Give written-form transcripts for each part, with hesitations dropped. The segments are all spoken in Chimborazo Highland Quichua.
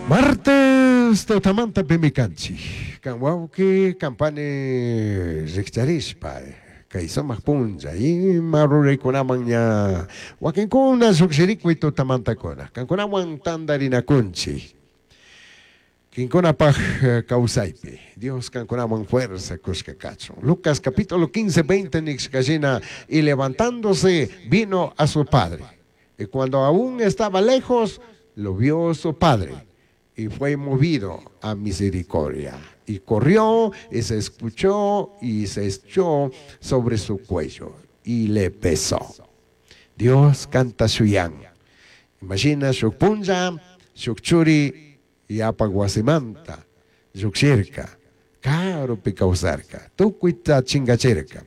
Martes tutamanta pimi kanchik. Kan wawqi kampani rikcharishpa kay sumaq punlla ima ruraykunaman ña wakinkuna lluqshirikuy tutamantakuna kankunawan tantarinakunchik. Kinkunapaj kawsaypi Dios kankunaman fuerza kushka kachun. Lucas capítulo 15, 20 nishkashina y levantándose vino a su padre. Y cuando aún estaba lejos, lo vio su padre y fue movido a misericordia. Y corrió y se escuchó y se echó sobre su cuello y le besó. Dios kanta shuyan. Imagina shuk punlla, shuk churi yapak wasimanta llukshirka, karupi kawsarka, tukuyta chingachirka.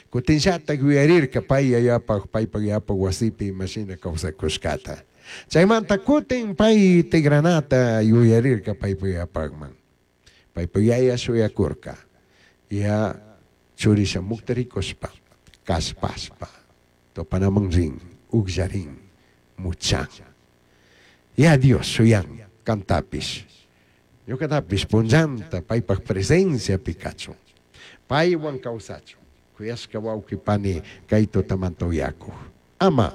Kutinllatak yuyarirka pay yayapak, paypak yapak wasipi imashina kawsakushkata. Chaymanta kutin pay tigranata yuyarirka paypak yapakman. Paypak yaya shuyakurka. Ya churi shamukta rikushpa, kallpashpa, tupanaman rin, ukllarin, muchan. Ya Dios shuyan kantapish. Ñukatapish punllanta paypak presenciapi kachun. Paywan kawsachun. Kuyashka wawqi pani kay tutamanta uyakuq. Ama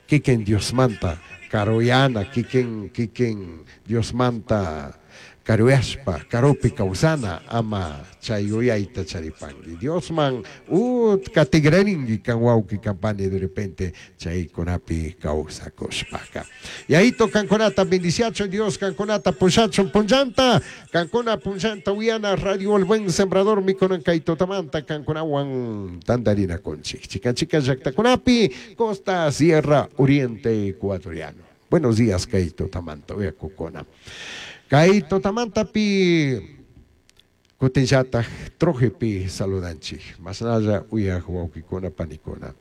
kikin Diosmanta karuyana, kikin kikin Diosmanta karuyashpa, karupi kawsana, ama chay yuyayta charipanki. Diosman utka tigrarinki kan wawqi kan pani de repente chaykunapi kawsakushpaka. Yayito kankunata bendiciachun Dios kankunata pushachun punllanta, kankuna punllanta uyana Radio El Buen Sembrador mikunan kay tutamanta kankunawan tantarinakunchik. Chikan chikan llaktakunapi, Costa Sierra Oriente Ecuatoriano. Buenos días kay tutamanta uyakukuna. Kay tutamantapi kutinllatak trojepi saludanchik. Masnalla uyak wawqikuna panikuna.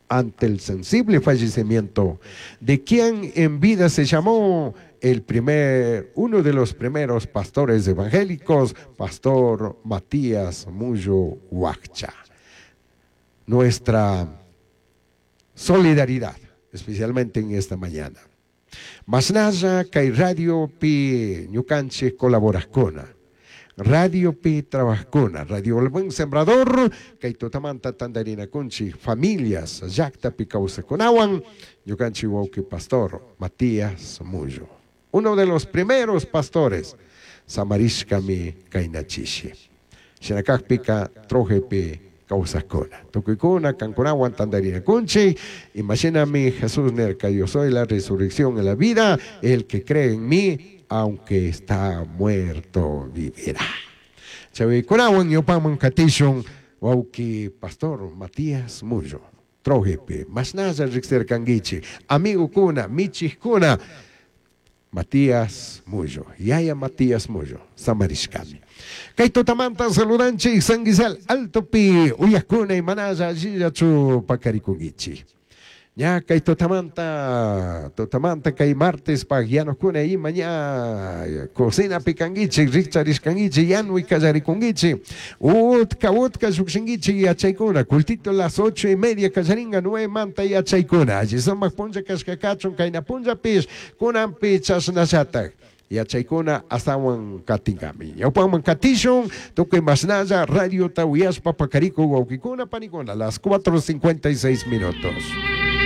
Ante el sensible fallecimiento de quien en vida se llamó uno de los primeros pastores evangélicos, Pastor Matías Muyo Huaccha. Nuestra solidaridad, especialmente en esta mañana. Masnalla kay radio pi ñukanchik colaborajkuna, radio pi trabajkuna, Radio El Buen Sembrador, kay tutamanta tantarinakunchik familias llaktapi kawsakunawan, ñukanchik wawqi Pastor Matías Muyo, uno de los primeros pastores, samarishkami kaynachishi. Shinakakpika trojepi kawsakuna. Tukuykuna kankunawan tantarinakunchik, imashinami Jesús nerka, yo soy la resurrección y la vida, el que cree en mí, aunque está muerto, vivirá. Chavikunawan ñupaman katishun wawqi Pastor Matías Muyo, trojepi, masnalla riqsirkankichik, amigokuna, michikuna, Matías Muyo, yaya Matías Muyo, samarishkami. Kay tutamanta saludanchik San Guisal Altopi, uyakuna imanalla allillachu pakarikunkichik. Ña kay tutamanta, tutamanta kay martes pag yanukuna ima ña cocina pikankichik, rikcharishkankichik, yanuy kallarikunkichik. Utka, utka llukshinkichik yachaykuna, cultito las 8:30 kallaringa, 9 manta yachaykuna. Alli sumak punlla kashka kachun, kayna punllapish, kunanpi chashnallatak. Yachaykuna astawan katinkami. Ñawpaman katishun, tukuy masnalla, radio ta uyashpa pakariku wawqikuna panikuna, las 4:56 minutos.